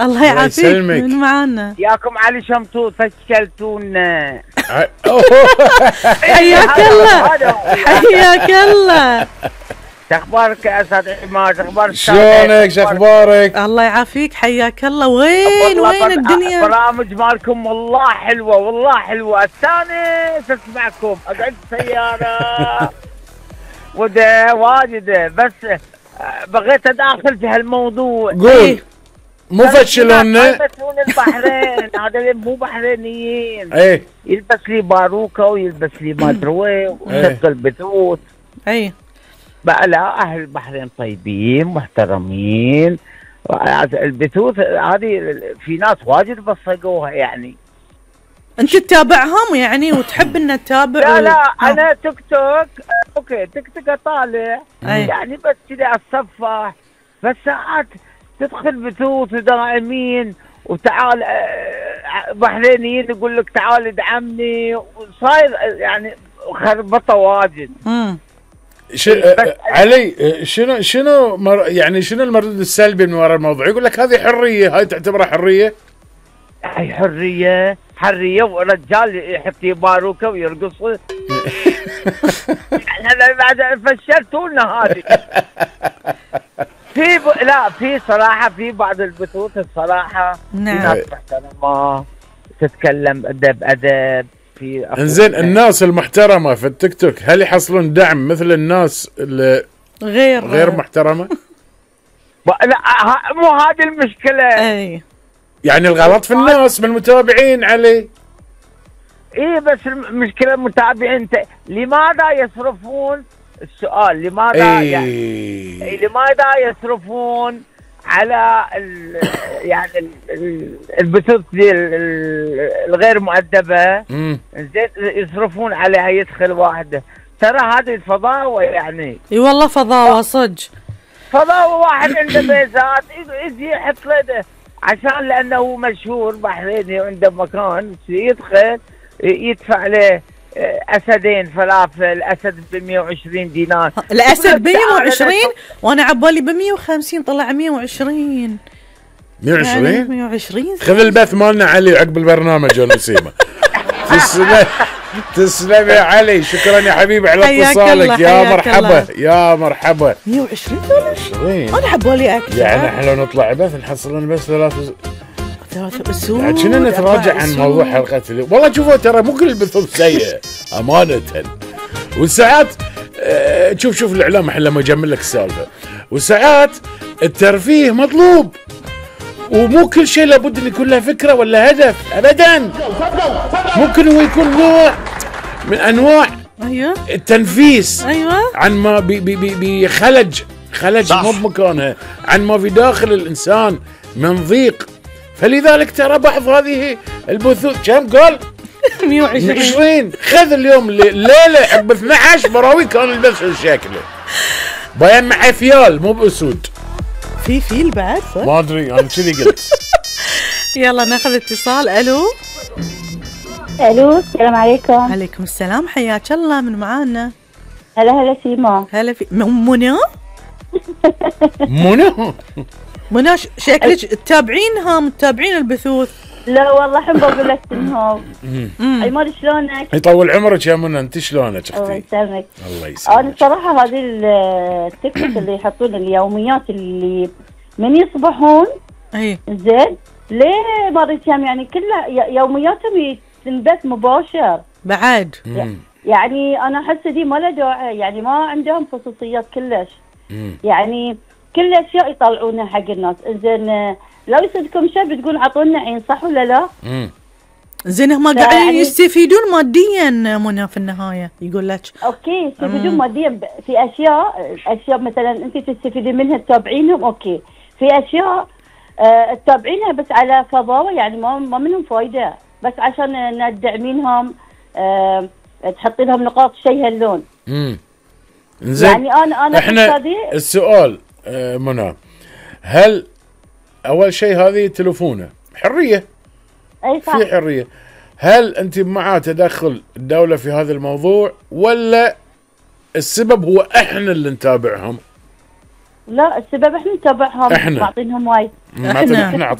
الله يعافيك من معانا. ياكم علي شمتوت فشلتونا. حياك الله حياك الله. شخبارك يا استاذ عماد؟ اخبارك شلونك؟ شخبارك؟ الله يعافيك حياك الله. وين الدنيا؟ برامج مالكم والله حلوه والله حلوه. استانس اسمعكم اقعد سياره وده واجده بس بغيت اداخل في هالموضوع. قول. مو فشلونا يلبسون البحرين هذا اللي مو بحرينيين. ايه يلبس لي باروكه ويلبس لي ما ادري وين ويشغل بثوث. اي بقى لا اهل البحرين طيبين محترمين. البثوث هذه في ناس واجد بصقوها يعني. انت تتابعهم يعني وتحب ان تتابع؟ لا انا تيك توك اوكي تيك توك اطالع يعني بس كذا اتصفح. بس ساعات تدخل بثوث دائمين وتعال بحرينيين يقول لك تعال ادعمني وصاير يعني خربطه واجد. علي شنو يعني شنو المردود السلبي من وراء الموضوع؟ يقول لك هذه حريه، هاي تعتبرها حريه؟ هاي حريه ورجال يحط باروكه ويرقص. احنا بعد فشلتونا هذه. في صراحه في بعض البثوث الصراحه نعم. في ناس محترمه تتكلم ادب. انزين الناس المحترمه في التيك توك هل يحصلون دعم مثل الناس اللي غير محترمه؟ لا مو هذه المشكله. اي يعني الغلط في الناس من المتابعين علي. ايه بس المشكله المتابعين لماذا يصرفون السؤال لماذا يعني لماذا يصرفون على يعني البثوث الغير مؤدبه؟ زين يصرفون عليها يدخل واحده. ترى هذه الفضاوه يعني. اي والله فضاوه صدق. فضاوه واحد عنده بيزات يجي يحط له عشان لانه مشهور بحريني وعنده مكان يدخل يدفع له اسدين فلافل. اسد ب 120 دينار. الاسد ب 120 وانا عبالي ب 150 طلع 120. 120 يعني 120. خذ البث مالنا علي عقب البرنامج يا نسيمه. تسلم يا علي. شكرا يا حبيبي على اتصالك. يا مرحبا يا مرحبا. 120 انا عبالي اكثر. يعني احنا لو نطلع بث نحصل لنا بس 3 اسود. يعني كنا نتراجع عن موضوع حلقه اليوم. والله شوفوا ترى مو كل البثوث سيئه امانه. والساعات شوف الاعلام احنا لما يجمل لك السالفه. والساعات الترفيه مطلوب ومو كل شيء لابد ان يكون له فكره ولا هدف ابدا. ممكن هو يكون نوع من انواع التنفيس. عن ما بخلج مو بمكانها، عن ما في داخل الانسان من ضيق. فلذلك ترى بعض هذه البثوث كم قال 120. خذ اليوم ليله عقب 12 براوي كان البث شكله بيان مع فيال مو باسود. في فيل بعد صح؟ ما ادري انا كذي قلت. يلا ناخذ اتصال. الو السلام عليكم. عليكم السلام حياك الله. من معانا؟ هلا سيما. هلا في منى. منى شكلك تتابعينها متابعين البثوث؟ لا والله الحين بقول لك انهم عمار شلونك؟ يطول عمرك يا منى. انت شلونك اختي؟ الله يسلمك. الله يسلمك. انا الصراحه هذه التيك توك اللي يحطون اليوميات اللي من يصبحون زين ليه باريتهم يعني كلها يومياتهم تنبث مباشر بعد. يعني انا احس دي ما له داعي. يعني ما عندهم خصوصيات كلش. يعني كل الاشياء يطلعونها حق الناس. زين لو يصدكم شيء بتقول اعطونا عين صح ولا لا؟ زين هم قاعدين يستفيدون ماديا منى في النهايه يقول لك. اوكي يستفيدون ماديا في اشياء مثلا انت تستفيدين منها تتابعينهم. اوكي في اشياء تتابعينها بس على فضاوه يعني ما منهم فايده بس عشان ندعمينهم تحطي لهم نقاط شيء هاللون. زين يعني انا احنا السؤال منى هل اول شيء هذه تلفونه حريه؟ اي صح. في حريه. هل انت مع تدخل الدوله في هذا الموضوع ولا السبب هو احنا اللي نتابعهم؟ لا السبب احنا نتابعهم. احنا معطينهم وايد. احنا